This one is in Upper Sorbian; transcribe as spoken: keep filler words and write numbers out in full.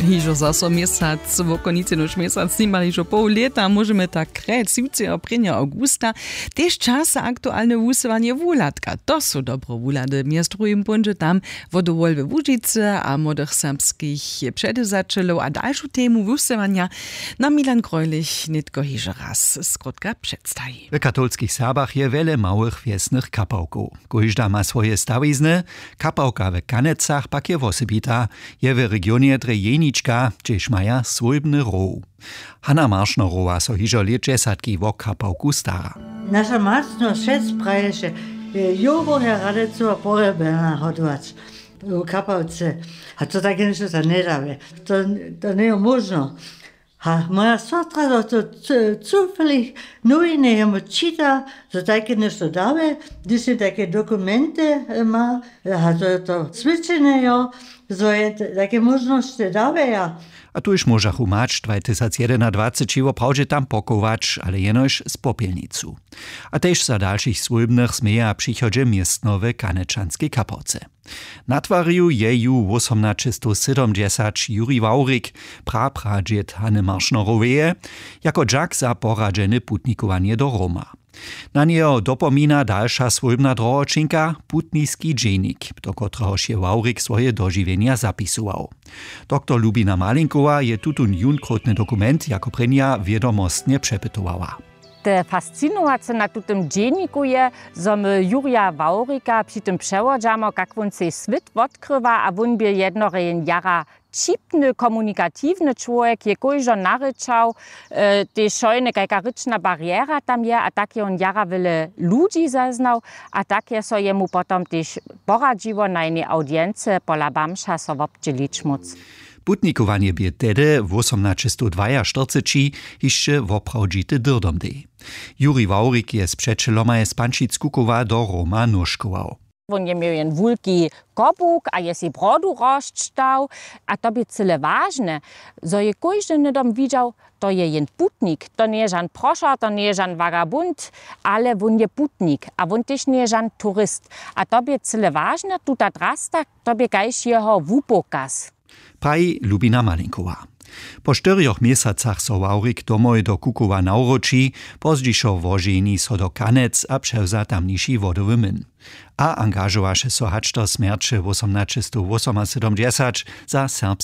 Hižo zaso měsac, wokonicy nož měsac, nimale hižo poł lěta, móžemy tak krjec jutře a prěnjeho awgusta. Tež čas za aktualne wusyłanje wuhladka, to su dobre wuhlady, mjez druhim póńdźe tam wo dowol we łužicy a młodych serbskich předewzaćelow a dalšu temu wusyłanja. Na milan grojlich nětko hižo raz skrótka předstaji. W katolskich serbach je wjele małych wjesnych kapałkow. Kóžda ma swoje stawizny. Kapałka w kanecach pak je wosebita. Je w regionje drje jenička, hdźež maja swójbny row. Hanna maršnerowa so hižo lětdźesatki wo kapałku stara. Naša macno šec praješe, jo woher radecu a porjebena hodować w kapałce. A to tak něšto to njedawe. To, to njejo móžno. A moja sotra do to cufeli nowiny jemu čita, zo tajke něšto dawe, hdyž je tajke dokumenty, ma, a to je to swědčenje jo, zo je tajke móžnosće daweja. A tuž móžachu mać dwajtysacjedenadwaceći woprawdźe tam pokować, ale jenož z popjelnicu. A tež za dalšich swójbnych změja w přichodźe městno w kanečanskej kapałce. Natwarił je ju wósomnaćestowsydomdźesać juri wawrik, prapradźěd hany maršneroweje, jako dźak za poradźene putnikowanje do roma. Na njeho dopomina dalša swójbna drohoćinka, putniski dźenik, do kotrehož je wawrik swoje dožiwjenja zapisował. Doktor lubina malinkowa je tutón junkrótny dokument jako prěnja wědomostnje přepytowała. Te fascinowace na tutym dźenniku je, zo my jurja wawrika při tym přewodźamo, kak wón sej swět wotkrywa, a wón bě jednorjen jara ćipny komunikatiwny čłowjek, je kóždo narěčał, tež šojne kajka rěčna bariera tam je, a tak je wón jara wjele ludźi zeznał, a tak je so jemu potom tež poradźiło na jenej awdiency pola bamša so wobdźělić móc. Putnikowanje bě tehdy wósomnaćestowdwajaštyrceći hišće woprawdźity dyrdomdej. Juri wawrik je z přećelomaj z pančic kukowa do roma nóžkował. Wón je měł jen wulki kobuk a je sej brodu rozčtał. A to bě cyle wažne, zo je kóždy hnydom widźał, to je jen putnik, to njeje žan prošar, to njeje žan vagabund, ale wón je putnik a wón tež njeje žan turist. A to bě cyle wažne, tuta drasta, to bě kaž jeho wupokaz. Praji lubina malinkowa. Po štyrjoch měsacach so wawrik domoj do kukowa nawróći, pozdźišo woženi so do kanec a přewza tamniši wodowy myn. A angažowaše so hač do smjerće wósomnaćestowwósomasydomdźesać za serbske